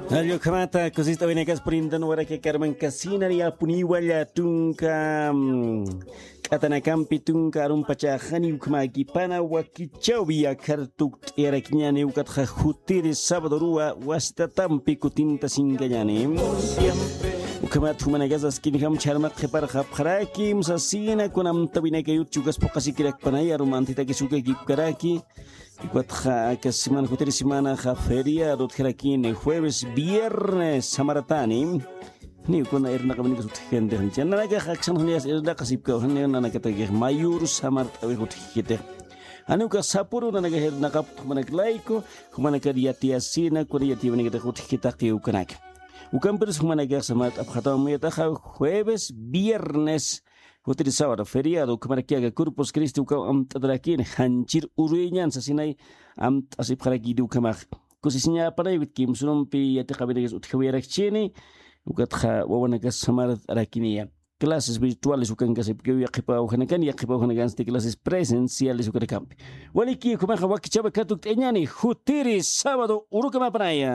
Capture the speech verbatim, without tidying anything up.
Allukhamata kusist'awinakas purintan waraka karman kasinari apuniwalla tunka, mm, k'atanakampi tunka arumpachaxani ukhamakipana wakichawi akhar tukt'iyarakiñani ukatxa jutiri sábado ruwa wasitatampi kutinta sinkañani. Ukhamat jumanakas askinjam chharmaq qhiparxapxaraki musasina kunamtawinakayut chukas puqasikirakpanay arumantitakis ukakipkaraki. Ukatxa aka semana jutiri semanaxa feriado utjarakini jueves viernes samaratani. Ni ukuna irnaqawinikas utjkentix nanakax aksan janiyas irnaqasipkaw jani nanakatakix mayur samart'awix utjkitix. Jani ukax sapuru nanakax irnaqaput jumanak layku jumanakar yatiyasina kuna yatiyawinakatix utjkitaqi ukanaka. Ukampirus jumanakax samart'apxatamamuyataxa jueves viernes jutiri sábado feriado ukhamarakiaka corpus cristi ukham amt'atarakini janchir uruyañan sasinay amt'asipxarakiti ukhamax. Kusisiñapanay wit kimsurumpi yatiqawinakas utjawiyarakchini. Ukatxa wawanakas samart'arakiniya clases virtuales ukankasipkiw yaqhipa awjanakan yaqhipa awjanakansti clases presenciales ukanakampi. Waliki ukhamaxa wakichapa katukt'añani jutiri sábado urukamapanaya.